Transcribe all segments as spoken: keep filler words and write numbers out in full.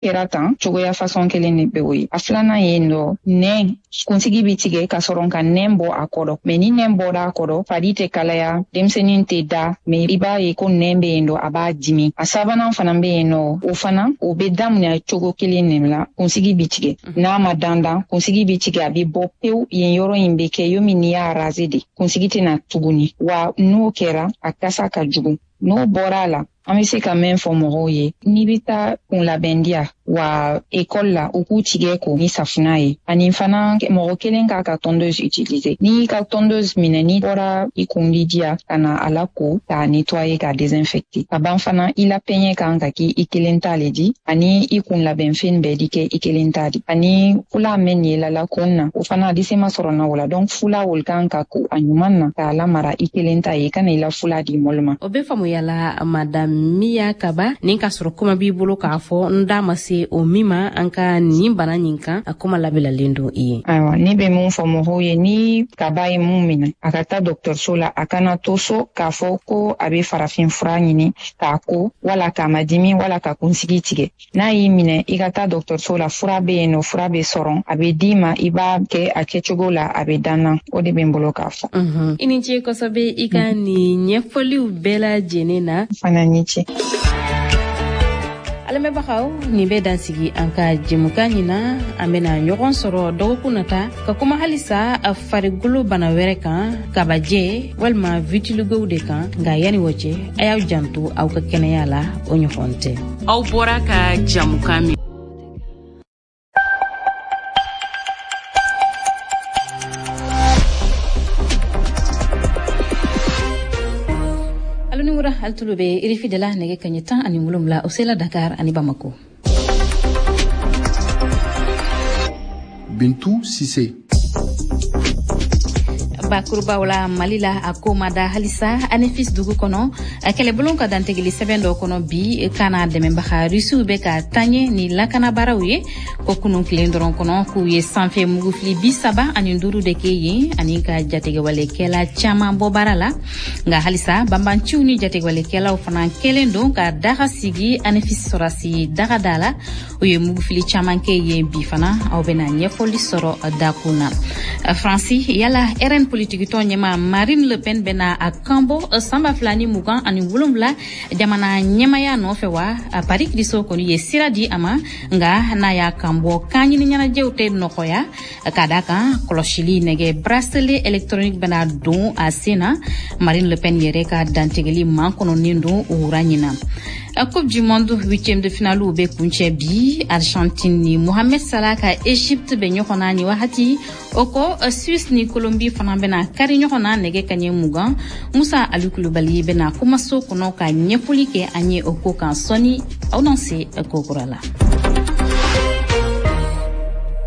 Kɛra tan cogoya façon kelen de bɛ o ye. A filanan ye nɔ, nɛn kunsigi bi tigɛ ka sɔrɔ ka nɛn bɔ a kɔrɔ, mais ni nɛn bɔra a kɔrɔ, fari tɛ kalaya, denmisɛnnin tɛ da, mais i b'a ye ko nɛn bɛ yen nɔ, a b'a dimi. A sabanan fana bɛ yen nɔ, o fana o bɛ daminɛ cogo kelen de la, kunsigi bi tigɛ n'a ma dandan, kunsigi bi tigɛ, a bɛ bɔ pewu, yen yɔrɔ in bɛ kɛ yomi n'i y'a raser de, kunsigi tɛna tuguni. Wa n'o kɛra, a kasa ka jugu. N'o bɔra a la, an bɛ se ka mɛn fɔ mɔgɔw ye, n'i bɛ taa kunlabɛndiya wa ekɔli la, u k'u tigɛ ko ni safunɛ ye. Ani fana, mɔgɔ kelen k'a ka tondeuse utiliser. N'i y'i ka tondeuse minɛ, n'i bɔra i kun diya ka na a la ko k'a nettoyer, k'a désinfecter. Ka ban fana, i la peigne kan ka k'i i kelen ta le di, ani i kun labɛnfɛn bɛɛ di kɛ i kelen ta di. Ani fula mɛn ye la la kun na, o fana a di se ma sɔrɔ na o la. Donc fula olu kan ka ko a ɲuman na k'a lamara i kelen ta ye, i kana i la fula di mɔlu ma. O bɛ faamuya la, madame Miya Kaba. Nin ka sɔrɔ kuma b'i bolo k'a fɔ n da ma se o min ma an ka nin bana nin kan, a kuma labilalen don i ye. Ayiwa, ne bɛ mun fɔ mɔgɔw ye? Ni kaba ye mun minɛ, a ka taa dɔgɔtɔrɔso la, a kana to so k'a fɔ ko a bɛ farafin fura ɲini k'a ko wala k'a ma dimi wala ka kunsigi tigɛ. N'a y'i minɛ, i ka taa dɔgɔtɔrɔso la, fura bɛ yen nɔ, fura bɛ sɔrɔ, a bɛ d'i ma, i b'a kɛ a kɛcogo la, a bɛ dan na. O de bɛ n bolo k'a fɔ. I ni ce kosɛbɛ i ka nin ɲɛfɔliw bɛɛ lajɛlen na. Fana ni ce. Lamɛnbagaw, nin bɛ dansigi an ka jɛmukan ɲin na. An bɛna ɲɔgɔn sɔrɔ dɔgɔkun nata ka kuma halisa farikolo bana wɛrɛ kan, kabajɛ walima vitiligow de kan. Nka yanni o cɛ, a y'aw janto aw ka kɛnɛya la, o ɲɔgɔn tɛ. Aw bɔra ka jamukan min Aluniwura alitulu bɛ R F I de la, nɛgɛ kaɲɛ tan ani wolonwula o sela Dakar ani Bamako. Bintu Sise. Bakurubaw la, Mali la, a ko ma da halisa Anefis dugu kɔnɔ. Kɛlɛbolo ka dantigɛli sɛbɛn dɔ kɔnɔ bi kana dɛmɛbaga Rusiw bɛ ka taɲɛ ni lakanabaaraw ye ko kunun tilen dɔrɔn kɔnɔ, k'u ye sanfɛ mugufili bi saba ani duuru de kɛ yen ani ka jatigɛwalekɛla caman bɔ baara la. Nka halisa banbanciw ni jatigɛwalekɛlaw fana kɛlen don ka daga sigi Anefis sɔrɔsi daga da la, u ye mugufili caman kɛ yen bi fana. Aw bɛna ɲɛfɔli sɔrɔ dakun na. Faransi, yala R N politikitɔn ɲɛma Marine Le Pen bɛna a kanbɔ san ba fila ni mugan ani wolonwula jamana ɲɛmaya nɔfɛ wa? Paris kiriso kɔni ye sira di a ma, nka n'a y'a kanbɔ, kan ɲini ɲɛnajɛw tɛ nɔgɔya, ka da kan kɔlɔsili nɛgɛ bracelet électronique bɛna don a sen na. Marine Le Pen yɛrɛ ka dantigɛli makɔnɔnen don o wura ɲina. Coupe du monde huitième de finale bɛ kuncɛ bi, Argentine ni Mohamed Salah ka Égypte bɛ ɲɔgɔn na ni wagati. O kɔ, Suisse ni Colombie fana bɛna kari ɲɔgɔn na nɛgɛ kaɲɛ mugan. Musa Ali Kulubali bɛna kumaso kɔnɔ ka ɲɛfɔli kɛ an ye o ko kan sɔɔni. Aw n'an se ko kura la.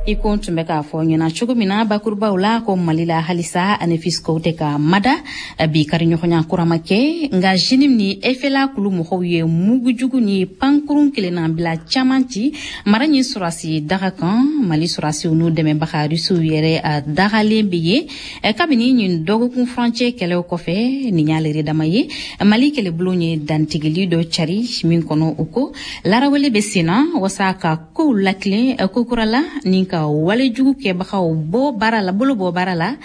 I ko n tun bɛ k'a fɔ ɲɛna cogo min na bakurubaw la, ko Mali la halisa Anefis kow tɛ ka mada. Bi kariɲɔgɔnya kura ma kɛ, nka JNIM ni F L A kulu mɔgɔw ye mugujugu ni pankurun kelenna bila caman ci mara ɲi sɔrɔsi daga kan. Mali sɔrɔsiw n'u dɛmɛbaga Rusiw yɛrɛ a dagalen bɛ yen kabini nin dɔgɔkun furancɛ kɛlɛw kɔfɛ. Nin y'ale yɛrɛ dama ye, Mali kɛlɛbulon ye dantigɛli dɔ cari min kɔnɔ, o ko larawele bɛ sen na wasa ka kow lakilen kokura la ni ka walejugu kɛbagaw bɔ baara la, bolo bɔ baara la.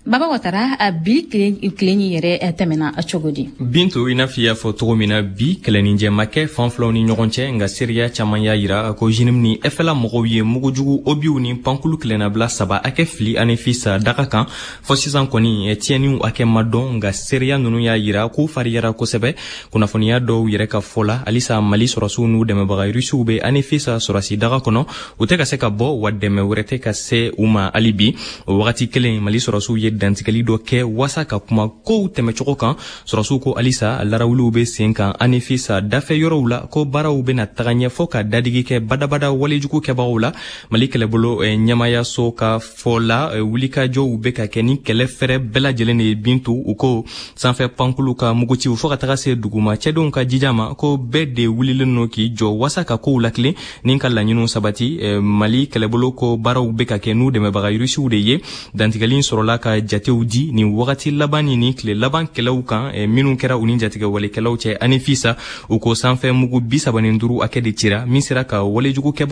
Baba Watara, a bi tile yɛrɛ tɛmɛna cogo di? Bintu, i n'a fɔ i y'a fɔ cogo min na, bi kɛlɛninjɛ ma kɛ fan filaw ni ɲɔgɔn cɛ, nka seereya caman y'a yira ko JNIM ni F L A mɔgɔw ye mugujugu obiw ni pankulu kelennabila saba hakɛ fili Anefis daga kan. Fɔ sisan kɔni, tiɲɛniw hakɛ ma dɔn, nka seereya ninnu y'a yira k'u fariyara kosɛbɛ. Kunnafoniya dɔw yɛrɛ ka fɔ la, halisa Mali sɔrɔsiw n'u dɛmɛbaga Rusiw bɛ Anefis sɔrɔsi daga kɔnɔ, u tɛ ka se ka bɔ, wa dɛmɛ wɛrɛ tɛ ka se u ma hali bi. O wagati kelen, Mali sɔrɔsiw ye dantigɛli dɔ kɛ wasa ka kuma kow tɛmɛcogo kan. Sɔrɔsiw ko halisa larawuliw bɛ sen kan Anefis dafɛ yɔrɔw la, ko baaraw bɛna taga ɲɛ fɔ ka dadigi kɛ badabada walejugu kɛbagaw la. Mali kɛlɛbolo ɲɛmayaso ka fɔ la, wulikajɔw bɛ ka kɛ ni kɛlɛ fɛrɛ bɛɛ lajɛlen de ye. Bintu, u ko sanfɛ pankulu ka muguciw fɔɔ ka taga se duguma cɛdenw ka jija ma, ko bɛɛ de wulilen no k'i jɔ wasa ka kow lakilen ni ka laɲiniw sabati. Mali kɛlɛbolo ko baaraw bɛ ka kɛ n'u dɛmɛbaga Rusiw de ye. Dantigɛli sɔrɔla ka jatew di nin wagati laban ni nin tile laban kɛlɛw kan minnu kɛra u ni jatigɛwalekɛlaw cɛ. Anefis, u ko sanfɛ mugu bi saba ni duuru hakɛ de cira, min sera ka walejugukɛbagaw